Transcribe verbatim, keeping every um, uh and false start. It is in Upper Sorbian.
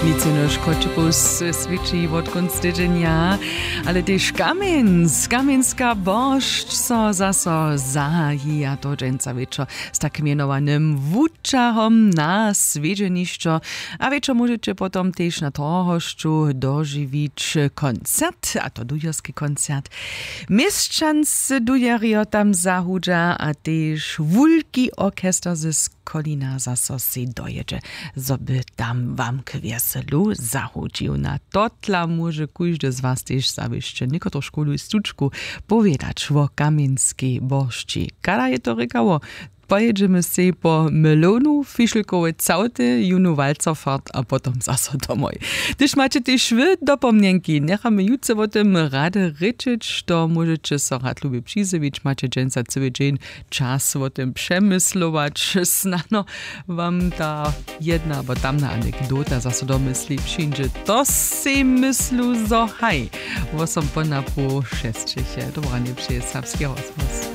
Nic jenož choćepołsce swědči wotkónc tydźenja, ale tež kamjenc kamjenska boršć so zaso zahaji a to dźensa wječor z tak mjenowanym wučahom na swjedźenišćo. A wječor móžeće potom tež na trohosću dožiwić koncert a to dujerski koncert. Měšćanscy dujerjo tam zahudźa a tež wulki orchester ze skolina zaso sej dojědźe, zo by tam wam k wjeselu zahudźił. Na totla móže kóždy z was tež zawěsće někotružkownu stučku powědać wo kamjenskej boršći. Kada je to rěkało? Pojědźemy sej po melonu fišelkowe całty jónu walcofart a potom zaso domoj. Hdyž maće tež wy dopomnjenki njechamy jutře wo tym rady rěčeć to móžeće so rad lubje přizjewić maće dźensa cyły dźeń. Čas wo tym přemyslować snano wam ta jedna abo tamna anekdota zaso do mysli přińdźe. To sej myslu zo haj. Wosom po napoł šesćich je dobranje přeje serbski rozhłos.